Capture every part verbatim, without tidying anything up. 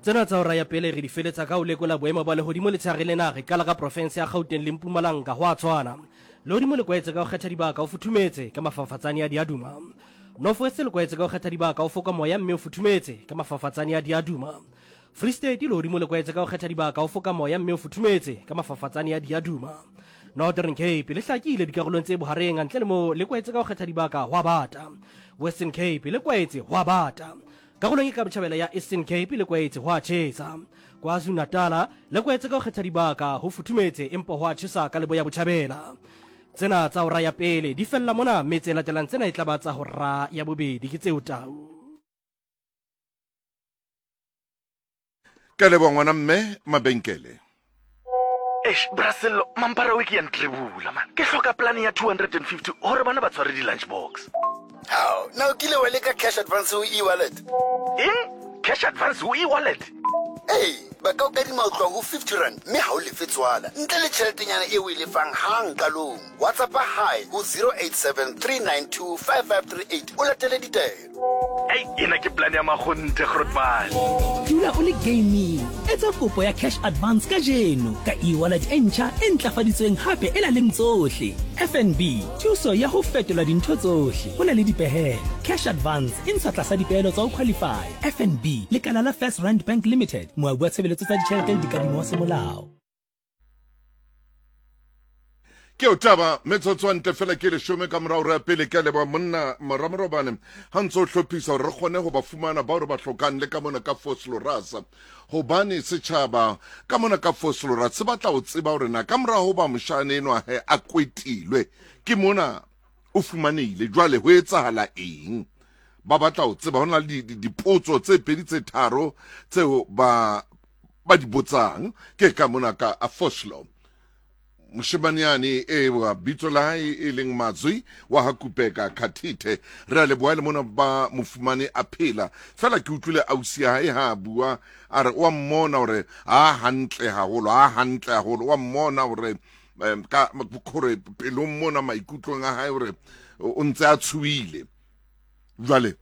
Tsena tsa hora ya pele re di feletsa ka ho lekola boemo ba lehodimo letshehare lena. Re qala ka profense ya Gauteng le Mpumalanga. Ho a tshwana. Lehodimo le kwaetse ka ho kgetha dibaka, o futhumetse ka mafafatsane a diaduma. North West le kwaetse ka ho kgetha dibaka, o foka moya mme o futhumetse ka mafafatsane a diaduma. Free State lehodimo le kwaetse ka ho kgetha dibaka, o foka moya mme o futhumetse ka mafafatsane a diaduma. Northern Cape le hlakile dikarolong tse bohareng, ntle le moo le kwaetse ka ho kgetha dibaka, ho a bata. Western Cape le kwaetse, ho a bata. Karolong e ka botjhabela ya Eastern Cape le kwaetse, ho a tjhesa. KwaZulu-Natal le kwaetse ka ho kgetha dibaka, ho futhumetse empa ho a tjhesa ka leboya botjhabela. Tsena tsa hora ya pele di fella mona, mme tse latelang tsena e tla ba tsa hora ya bobedi. Ke tseo tau. Ke a leboha ngwana mme Mabenkele. Eish, bra Sello, mampara we ke ya ntrebula man. Ke hloka plan ya two hundred and fifty gore bana ba tshware di-lunch box. Hao, na o kile wa leka cash advance ho e-wallet? Eng? Cash advance ho e-wallet? Ee, ba ka o kadima ho tloha ho fifty rand mme ha o lefe tswala ntle le tjheletenyana eo o e lefang hang qalong. WhatsApp hi ho zero eight seven three nine two five five three eight o latele ditaelo. Ei, ena ke plan ya makgonthe, Grootman. Dula o le gaming. Etsa kopo ya cash advance kajeno ka e-wallet e ntjha e ntlafaditsweng hape e nang le tsohle. F N B, thuso ya ho fetola dintho tsohle. Ho na le dipehelo. Cash advance e ntshwa tlasa dipehelo tsa ho qualify. F N B, lekala la First Rand Bank Limited, moabi wa tshebeletso tsa ditjhelete le dikadimo wa semolao. Ke o taba metsotso ntle fela ke leshome ka morao re pele. Ke a leboha monna Moramorobane ha ntse o hlophisa hore re kgone ho ba fumana bao re ba hlokang le ka mona ka Vosloorus, hobane setjhaba ka mona ka Vosloorus se batla ho tseba hore na ka morao ho ba moshane enwa he a kwetilwe ke mona o fumanehile, jwale ho etsahala eng? Ba batla ho tseba. Ho na le dipotso tse pedi tse tharo tseo ba ba di botsang ke ka mona ka Vosloo. Moshemane e wa bitso la hae e leng Mazwi wa ha Kupeka Khathithe, re a leboha le mona ba mofumane a phela. Fela ke utlwile ausi ya hae ha a bua a re wa mmona hore ha hantle haholo, ha hantle haholo, wa mmona hore ka hore pelong mona maikutlong a hae hore o ntse a tshohile. Jwale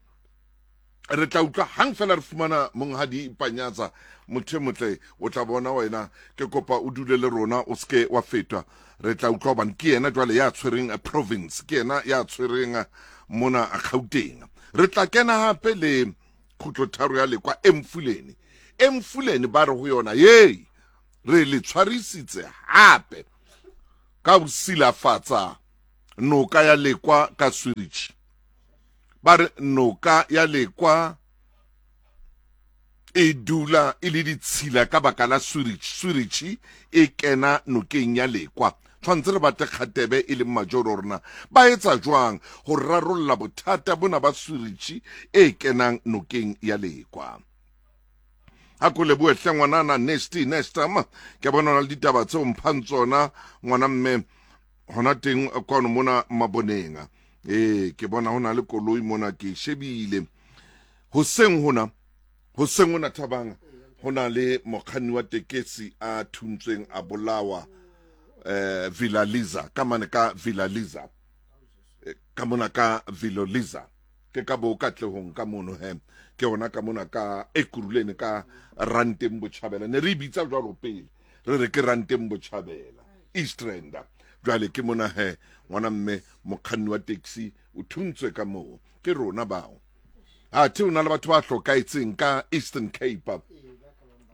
re tla utlwa hang fela re fumana monghadi Panyatsa, motho e motle, o tla bona wena. Ke kopa o dule le rona, o seke wa fetwa. Re tla utlwa hobane ke yena jwale ya tshwereng province, ke yena ya tshwereng mona Gauteng. Re tla kena hape le kgutlotharo ya Lekwa Emfuleni. Emfuleni ba re ho yona, yei re le tshwarisitse hape ka ho silafatsa noka ya Lekwa ka sewage. Ba re noka ya Lekwa e dula e le ditshila ka baka la sewage. Sewage e kena nokeng ya Lekwa. Tshwantse re batle kgatebe e leng majoro rona ba etsa jwang ho rarolla bothata bona ba sewage e kenang nokeng ya Lekwa. Ha ko lebohe hle ngwanana Nasty Nestam, ke bona hona le ditaba tseo mphang tsona ngwana mme hona teng kwano mona Maboneng. Eh, ke bona hona le koloi mona ke shebile. Hoseng hona, hoseng hona Thabang, hona le mokganni wa tekesi a thuntsweng a bolawa eh Villa Liza, ka mane ka Villa Liza. Ka mona ka Villa Liza. Ke ka bo Katlehong ka mono he. Ke hona ka mona ka Ekurhuleni ka Ranteng Botjhabela. Ne re bitsa jwalo pele. Re re ke Ranteng Botjhabela, East Rand. Jwale ke mona he ngwana mme mokganni wa taxi o thuntswe ka moo. Ke rona bao. Athe o na le batho ba hlokaetseng ka Eastern Cape.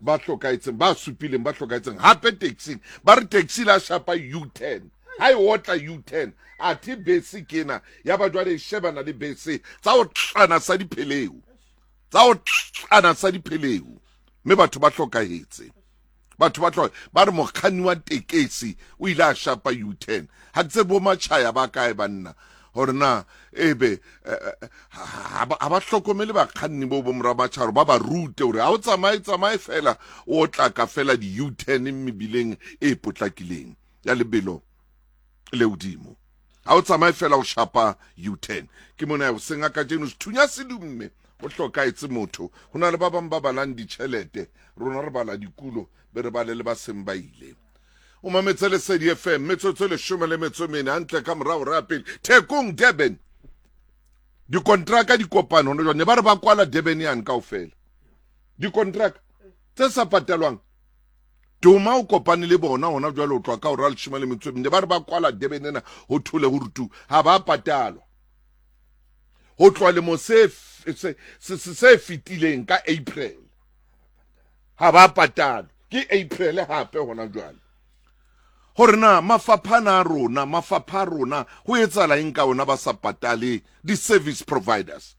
Ba hlokaetseng, ba supileng, ba hlokaetseng hape taxi. Ba re taxi la shapa U ten. Ha e otla U ten. Athe bese ke ena ya ba jwale e shebana le bese tsa ho tlana sa dipheleu. Tsa ho tlana sa dipheleu. Mme batho ba hlokahetse. Batho ba tlo ba re mokganni wa tekesi o ile a shapa U ten. Ha ke tsebe bo matjhaya ba kae banna hore na ebe ha ba hlokomele bakganni bo bo mora matjharo, ba ba rute hore ha o tsamaye tsamaye fela o tla ka fela di U ten mebileng e potlakileng ya lebelo le hodimo. Ha o tsamaye fela o shapa U ten. Ke mona o senga kajeno sethunya se dumme o hlokaetse motho. Ho na le ba bang ba balang ditjhelete, rona re bala dikulo be re bale le ba seng ba ile. O mametse Lesedi F M metsotso e leshome le metso e mene hantle ka morao re ya pele. Thekong Durban, dikontraka di kopano hona jwale, ne ba re ba kwala Durban yane kaofela. Dikontraka Tse sa patalwang. Duma o kopane le bona hona jwale o tloha ka hora ya leshome le metso e mene. Ba re ba kwala Durban ena ho thole ho rutu ha ba patalwa. Ho tloha lemo se se se se fetileng ka April. Ha ba patalwa. Ke April hape hona jwale. Hore na mafapha ana a rona, mafapha a rona ho etsahala eng ka ona ba sa patale di-service providers?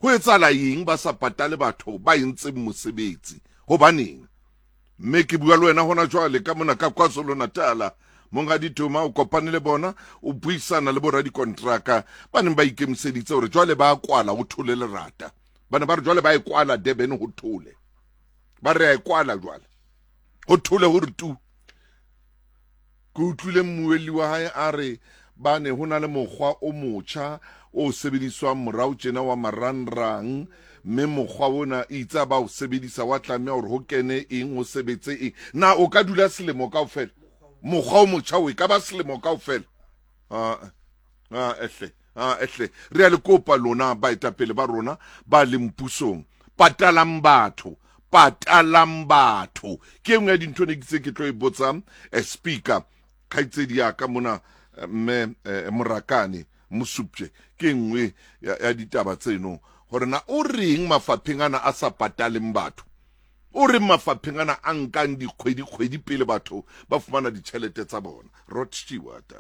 Ho etsahala eng ba sa patale batho ba entseng mosebetsi? Hobaneng? Mme ke bua le wena hona jwale ka mona ka KwaZulu-Natal. Monghadi Duma o kopane le bona, o buisana le boradikontraka ba neng ba ikemiseditse hore jwale ba kwala ho thole lerata. Ba ne ba re jwale ba e kwala Durban ho thole. Ba re a e kwala jwale. Ho thole ho re tu. Ke utlwile mmuelli wa hae a re ba ne ho na le mokgwa o motjha o sebediswang morao tjena wa marangrang, mme mokgwa ona itse ba o sebedisa wa tlameha hore ho kene eng, ho sebetse eng. Na o ka dula selemo kaofela? Mokgwa o motjha o e ka ba selemo kaofela? Ah, ah, ehle, ah, ehle. Re a le kopa lona baetapele ba rona ba leng pusong, patalang batho, patalang batho. Ke e nngwe ya dintho ne ke itse ke tlo e botsa, eh, speaker kgaitsedi ya ka mona, mme, eh, Morakane Mosupje, ke nngwe ya, ya ditaba tseno hore na o reng mafapheng ana a sa pataleng batho, o reng mafapheng ana a nkang dikgwedi kgwedi pele batho ba fumana ditjhelete tsa bona. Rod Stewart.